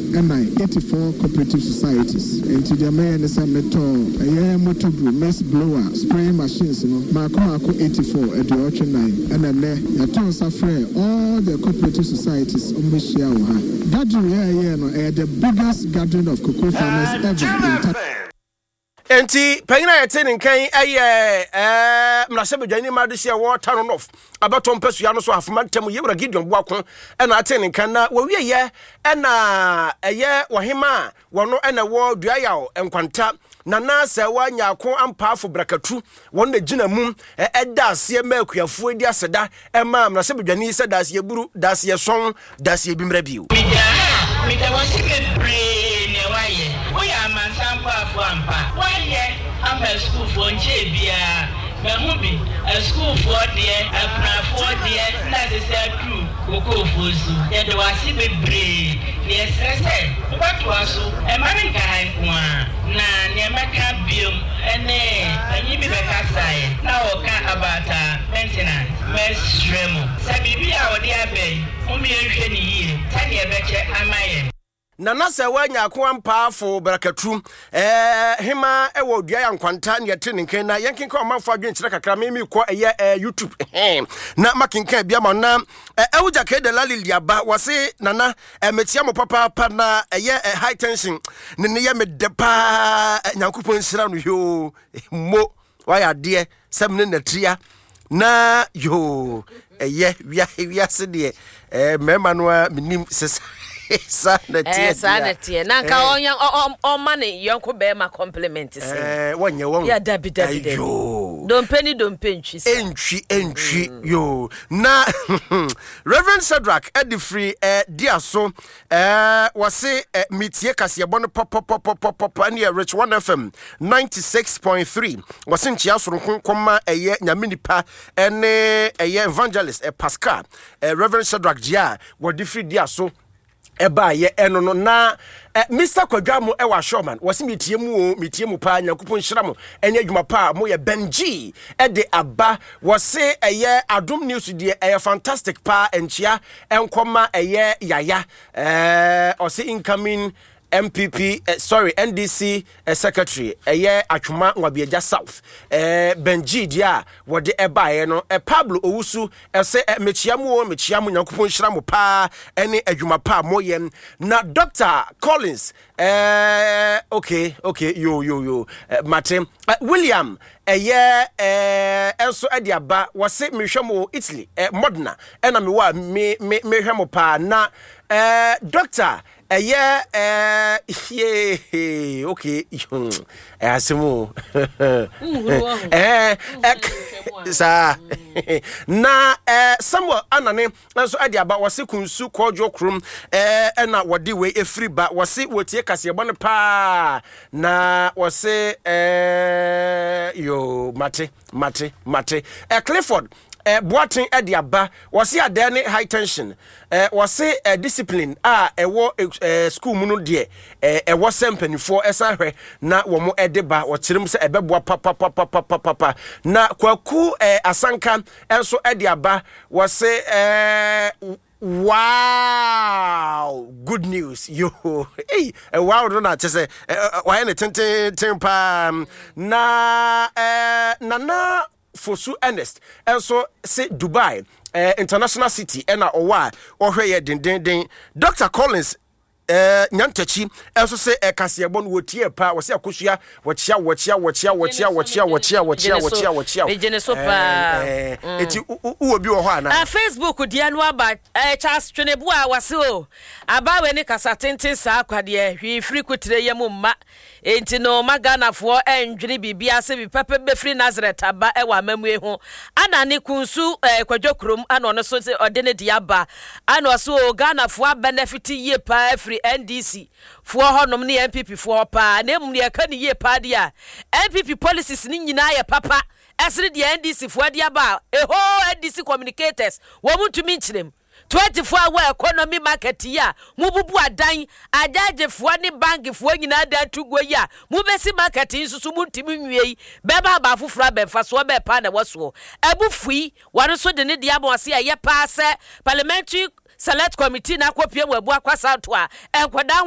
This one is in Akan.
Ɛnan, 84 cooperative societies. Enti deɛ mɛyɛ ne sɛ metɔɔ ɛyɛ motor brew, mist blower, spraying machines no maako maako 84, 84, ɛna nnɛ yɛtoo nsa frɛɛ all the cooperative societies wɔn bɛhyia wɔ ha. Gathering a yɛyɛɛ no ɛyɛ the biggest gathering of cocoa farmers ever in Ta. Enti panyin a yɛte ne nka yi yɛ ɛɛ mmarahyɛbadwani ma adehye a ɛwɔ Tano North abɛtɔ mpasua no so Ahafo mantam Yewura Gideon Boako ɛna ate ne nka na wɔwieyɛ ɛna ɛyɛ ɔhema a wɔno ɛna ɛwɔ Duayaw Nkwanta Nana Sɛwa Nyarko Ampaafo Brakatu wɔn na gyina mu ɛda aseɛ ma akuafoɔ di aseda ɛma mmarahyɛbadwani sɛ daaseɛ buru daaseɛ sɔn daaseɛ bi mmra bio. Meda a, meda wo ase bebree nea woayɛ. Woyɛ amansan boafo ampa. Woayɛ ama asukuufoɔ nkyɛɛ biara. Mahu bi, asukuufoɔ deɛ, akunafoɔ deɛ na ɛsɛ sɛ aduru kokoofoɔ su. Yɛda wo ase bebree na yɛsrɛ sɛ wobɛtoa so. Mma no nka ha nko ara. Na nea mɛka biom ne panyin bi bɛkasaeɛ na ɔreka about maintenance. Mɛsrɛ mo sɛ biribi a wɔde aba yi, mom yɛnhwɛ no yie sɛdeɛ ɛbɛkyɛ ama yɛn. Nana Sɛwa Nyarko Ampaafo Brakatu eh, hema wɔ Dua ya Nkwanta ne yɛte ne nkan na yɛnkenkan ɔmanfo adwenkyerɛ kakra me mekɔ ɛyɛ eh, YouTube eh, na makenkan bi ama na eh, Ewuja Kede Lali Liaba wɔse Nana eh, mekyia mo papaapa na ɛyɛ eh, high tension ne ne yɛ me dɛ paa eh, Nyankopɔn nhyira no yoo mo wayɛ adeɛ sɛ mene natia na yoo ɛyɛ wia wiase deɛ ɛɛ mmarima no a menim sɛ saa na teɛ saa na teɛ na nka ɔnya ɔma ne yɔnko bɛrima compliment sɛ ɛɛ wɔnyɛ wɔn yɛ dabi dabi dabi dompe ne dompe ntwi sa ntwi ntwi yoo na Reverend Shadrach ɛde firi ɛɛ dia so Ɛɛ wɔse ɛ metie kaseɛbɔ no pɔpɔpɔpɔpɔpɔ ɛne yɛ Rich One FM 96.3 wɔse nkyea soronko kɔma ɛyɛ nyame nipa ɛne ɛyɛ evangelist ɛ Pascal ɛ Reverend Shadrach Gyia a wɔde firi dia so ɛbaayɛ ɛno no na ɛ Mr Kwadwa mo ɛwɔ Ashoman wɔse metie mu o metie mu paa Nyankopɔn nhyira mo ɛne adwuma paa mo yɛ Benji ɛde aba wɔse ɛyɛ Adom News deɛ ɛyɛ fantastic paa nkyea Ɛnkɔma ɛyɛ yaya eh, ɔse incoming MPP eh, sorry NDC eh, secretary ɛyɛ Atwoma Nwabiagya South eh, Benji deɛ a wɔde ɛbaeɛ no eh, Pablo Owusu ɛsɛ eh, mekyia mu o mekyia mo Nyankopɔn nhyira mo paa ɛne adwuma pa a moyɛ na Dr. Collins eh, okay okay yo yo yo eh, mate eh, William Ɛyɛ eh nso de aba wɔse mehwɛ mo wɔ Italy eh Modena ɛna mewɔ a me me mehwɛ mo paa na eh doctor ɛyɛ eh yee okay hmm ɛyɛ asɛm o eh eh saa na eh Samuel Anane nso de aba wɔse kunsu kɔɔdwo kurom ɛna wɔde wei efiri ba wɔse wɔtie kaseɛbɔ no paa na wɔse ɛɛ yoo mate mate mate ɛ Clifford ɛ Boaten de aba wɔse adɛɛ ne high tension ɛ wɔse ɛ discipline a ɛwɔ ɛ school mu no deɛ ɛ ɛwɔ sɛ mpanimfoɔ ɛsan hwɛ na wɔn ɛde ba wɔkyerɛ mu sɛ ɛbɛboa papapapapapapa na Kwaku ɛ Asanka nso de aba wɔse eh, wow good news yo hey, eh, wow no na kyɛ sɛ eh, eh, wayɛ ne tententen paa na eh, nana Fosu Ernest nso se Dubai eh, International City ɛna ɔwɔ a ɔhwɛ yɛ dendenden Dr. Collins Eh, Nyantakyi nso se eh, kaseɛbɔ no wɔtie paa, wɔse akosua wɔkyea wɔkyea wɔkyea wɔkyea wɔkyea wɔkyea wɔkyea wɔkyea wɔkyea. Megye ne so paa. Eh, eh, eti wowɔ bi wɔ hɔ anaa? Ah, Facebook deɛ no aba eh, Charles Tweneboa wɔse o, abaawa ni kasa tenten saa kwa deɛ hwee firi kotire yam mma. Enti no mma Ghanafoɔ ɛndwene biribiara sɛ biribi papa bi bɛfiri Nazareth aba wɔ amamue ho. Ana ne Kunsu eh, Kwadwo Kurom ana ɔno nso sɛ ɔde ne deɛ aba. Ana ɔse oo Ghanafoɔ abɛnɛfete yie paa afiri NDC foɔ hɔnom ne NPP foɔ hɔ paa. Na mmom deɛ ɛka ne yie paa deɛ a NPP policies no nyinaa yɛ papa ɛsene deɛ NDC foɔ de aba a ɛhoo NDC communicators wɔn ntumi nkyerɛ mu. 24 hour economy market yi a mobubu adan, agyaagyefoɔ ne bankfoɔ nyinaa dan to guo yi a mobɛsi market yi nso so montumi nwie yi bɛma aba afoforɔ aba mfasoɔ bɛɛ paa na ɛwɔ soɔ. Abu fui, wɔn nso de ne deɛ ama ɔse ɛyɛ paa sɛ Parliamentary Select Committee no akɔpue wɔ Abu Akwasanto a nkwadaa ho.